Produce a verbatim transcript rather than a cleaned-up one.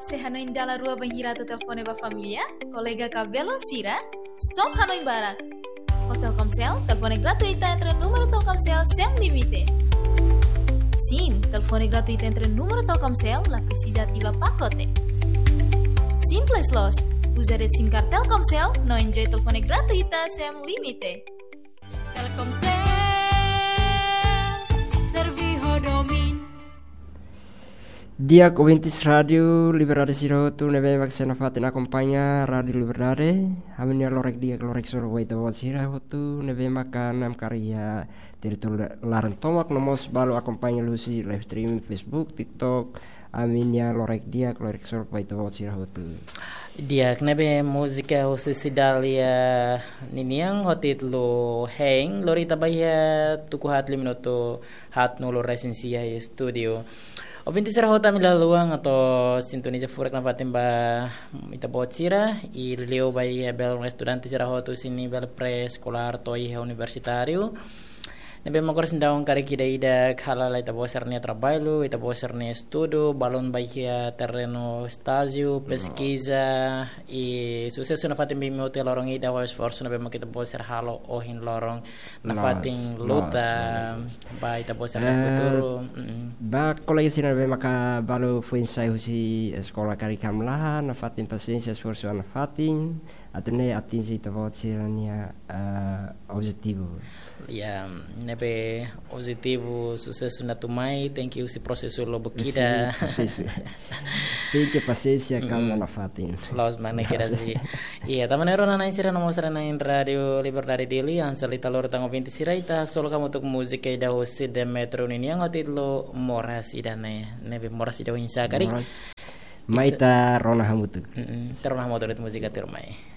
Se hanoin dala rua bainhira atu telefone ba família, kolega ka belun sira, stop hanoin barak. Ho Telkomsel, telefone gratuita entre númeru Telkomsel sem limite. Sim, telefone gratuita entre númeru Telkomsel, la presiza ativa pakote. Simples loos, uza de'it SIM card Telkomsel, no enjoy telefone gratuita sem limite. Telkomsel, servi ho domin. Di'ak ouvintes Rádiu Liberdade sira hotu ne'ebé mak sei nafatin akompaña Rádiu Liberdade. Ami-nia lorokraik di'ak, lorokraik solok ba ita-boot sira hotu ne'ebé mak namkari iha territóriu laran tomak no mós balu akompaña liuhusi live streaming Facebook, TikTok. Ami-nia lorokraik di'ak, lorokraik solok ba ita-boot sira hotu. Di'ak, ne'ebé múzika husi Cidália ninian ho títulu Hein, lori ita ba iha tuku haat liu minutu haatnulu resin sia iha estúdiu. Ouvintes sira hotu, ami la haluha atu sintoniza furak nafatin ba ita-boot sira, i liuliu ba iha belun estudante sira hotu husi nivel pré-eskolár to'o iha universitáriu. Ne'ebé mak oras ne'e daudaun karik ida-idak hala'o ita-boot sira-nia traballu, ita-boot sira-nia estudu, balun ba iha terrenu estájiu, peskiza, i susesu nafatin ba imi hotu iha loron ida ho esforsu ne'ebé mak ita-boot sira halo ohin loron nafatin luta ba ita-boot sira-nia futuru. Mm. Ba kolega sira ne'ebé maka balu foin sai husi eskola karik hamlaha, nafatin pasiénsia, esforsu nafatin atu nune'e atinje ita-boot sira-nia, eh, objetivu. Ya, ne'ebé objetivu susesu atu mai, tenke husi prosesu lubuk ida. Husi prosesu. Tenke pasiénsia, kalma nafatin. Loos mak ne'e kedas. Iya, tanba ne'e rona-na'in sira no mós sira-na'in Rádiu Liberdade Dili, hanesan ita lori tan ouvinte sira, ita haksolok hamutuk múzika ida husi Demetrio ninian ho títulu Moras Ida ne'e, ne'ebé moras ida oinsá karik. Moras. Mai ita rona hamutuk. Mm-mm, ita rona hamutuk de'it múzika tuirmai.